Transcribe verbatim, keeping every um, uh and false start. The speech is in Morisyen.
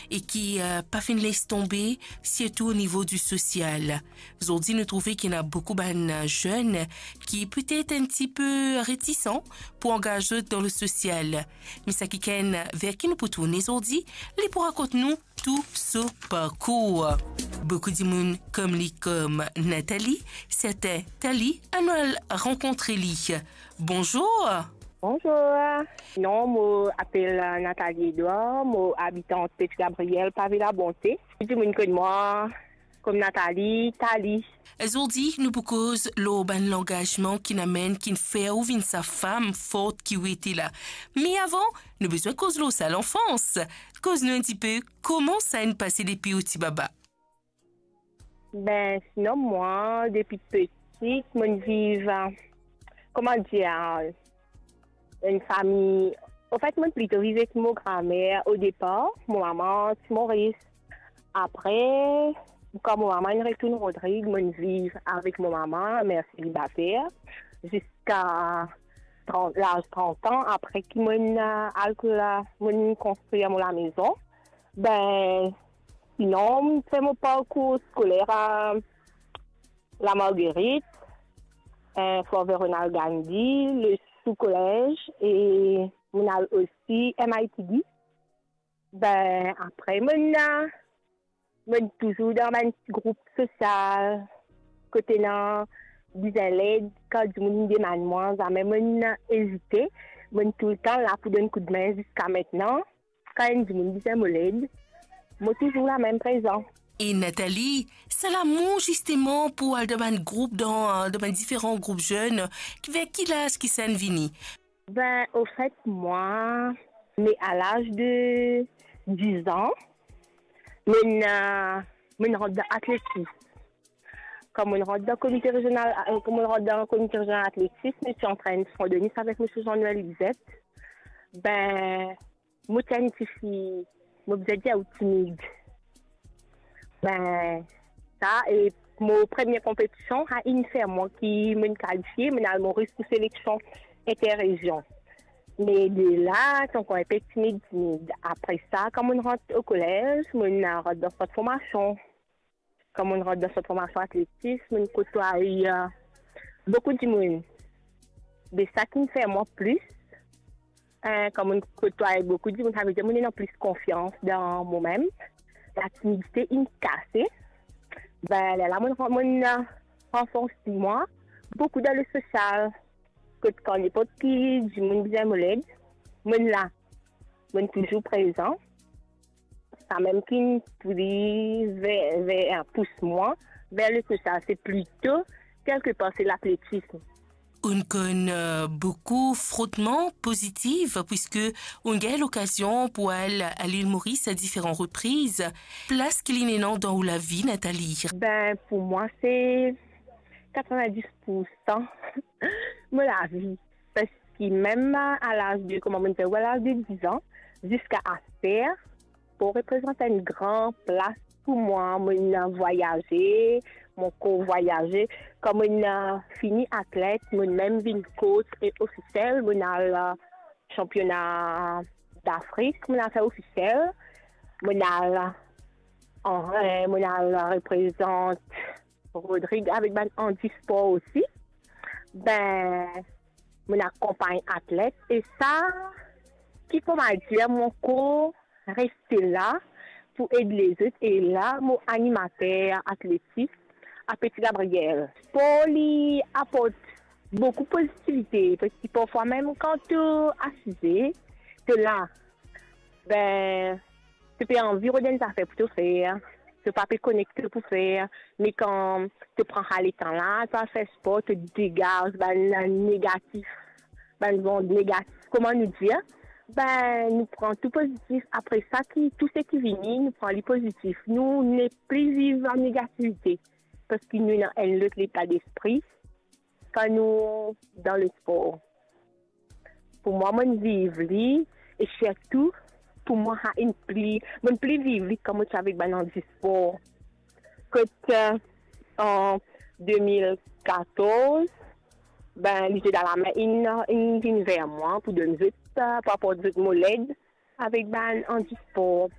e ki, eh, pa finn les tonbe, sirtou o nivo di sosial. Zordi nou trouve ki ena boukou bann, eh, zenn ki petet enn tipe retisan pou angaz zot dan le sosial. Me sa kikenn ver ki nou pou tourne zordi, li pou rakont nou tou so parkour. Boukou dimoun konn li kom Nathalie, serten Tali, anou al rankontre li. Bonzour. Bonzour. Non, mo apel, eh, Nathalie Edouard, mo abitan Petit Gabriel, Pavé Labonté. Dimoun konn mwa kom Nathalie, Tali. Zordi, nou pou koz lor bann langazman ki'nn amenn, ki'nn fer ou vinn sa fam fort ki ou ete la. Me avan, nou bizin koz lor sa lanfans. Koz nou enn tipe kouma sa'nn pase depi ou ti baba. Ben, sinon mwa, depi peti, mo'nn viv, eh, kouma dir, eh, enn fami. Anfet, mo'nn plito viv ek mo gramer o depar, mo mama ti Moris. Apre, kan mo mama inn retourn Rodrig, mo'nn viv avek mo mama, mer selibater, ziska trant, laz trant an, apre ki mo'nn, eh, al la, mo'nn konstrir mo lamezon. Ben, sinon, mo'nn fer mo parkour skoler a La Marguerite, eh, Fort Véronal Gandhi, le Sous Collège, e mo'nn al osi M I T D. Ben, apre, mo'nn, eh, mo'nn touzour dan bann ti group sosial, kot ena bizin led, kan dimoun demann mwa, zame mo'nn ezite, mo'nn toultan la pou donn koudme ziska aster. Kan enn dimoun bizin mo led, mo touzour la mem prezan. E Nathalie, sa lamour zisteman pou al dan bann group, dan, dan bann diferan group zenn, ki, ver ki laz ki sa'nn vini? Ben, anfet, mwa, me a laz de diz an, mo'nn, eh, mo'nn rant dan atletis. Kan mo'nn rant dan komite rezional, eh, kan mo'nn rant dan komite rezional atletis, nou ti antrenn San Denis avek misie Jean-Noël Lisette. Ben, mo ti enn tifi, mo bizin dir ou timid. Ben, sa, e mo premie konpetision, sa inn fer mwa ki mo'nn kalifie, mo'nn al Moris pou seleksion interrezion. Me de la, ti ankor inpe timid, timid. Apre sa, kan mo'nn rant o kolez, mo'nn rant dan sant formasion. Kan mo'nn rant dan sant formasion atletis, mo'nn kotway, eh, boukou dimoun. Be sa ki'nn fer mwa plis, eh, kan mo'nn kotway boukou dimoun, savedir mo'nn ena plis konfians dan momem. Latimidite inn kase. Ben, lerla mo'nn, mo'nn, eh, ranforse mwa boukou dan le sosial. Kot kan ninport ki dimoun bizin mo led, mo'nn la. Mo'nn touzour prezan. Samem ki'nn pli ver, ver, pous mwa ver le sosial, se plito, kelkepar, se latletism. Ou'nn konn, eh, boukou frotman pozitif, piske ou'nn gagn lokazion pou al, al Lil Moris a diferan repriz. Plas ki li'nn ena dan ou lavi, Nathalie? Ben, pou mwa, se katrevin-dis pou san mo lavi. Parski mem a laz de, kouma mo'nn dir ou, a laz de diz an, ziska aster, spor reprezant enn gran plas pou mwa. Mo'nn vwayaze, mo kor vwayaze. Kan mo'nn fini atlet, mo'nn mem vinn coach e ofisiel. Mo'nn al, eh, sanpiona Dafrik, mo'nn al fer ofisiel. Mo'nn al, eh, mo'nn al reprezant Rodrig avek bann andispor osi. Ben, mo'nn akonpagn atlet e sa, ki kouma dir, mo kor reste la pou ed lezot, e la mo animater atletis a Petit Gabriel. Spor li aport boukou pozitivite, parski parfwa mem kan to asize, to la, ben, to pe anvi rod enn zafer pou to fer, to pa pe konekte pou fer, me kan to pran sa letan la, to al fer spor, to degaz bann negatif, bann zond negatif, kouma nou dir, ben, nou pran tou pozitif. Apre sa, ki, tou seki vini, nou pran li pozitif. Nou nepli viv an negativite, parski nou ena enn lot leta lespri kan nou dan lespor. Pou mwa, mo'nn viv li, e sirtou, pou mwa, sa inn pli, mo'nn pli viv li kan mo ti avek bann andispor. Kot, eh, an de mil katorz, ben, Lizie Dalame inn, inn vinn ver mwa pou donn zot, eh, pou aport zot mo led avek bann andispor.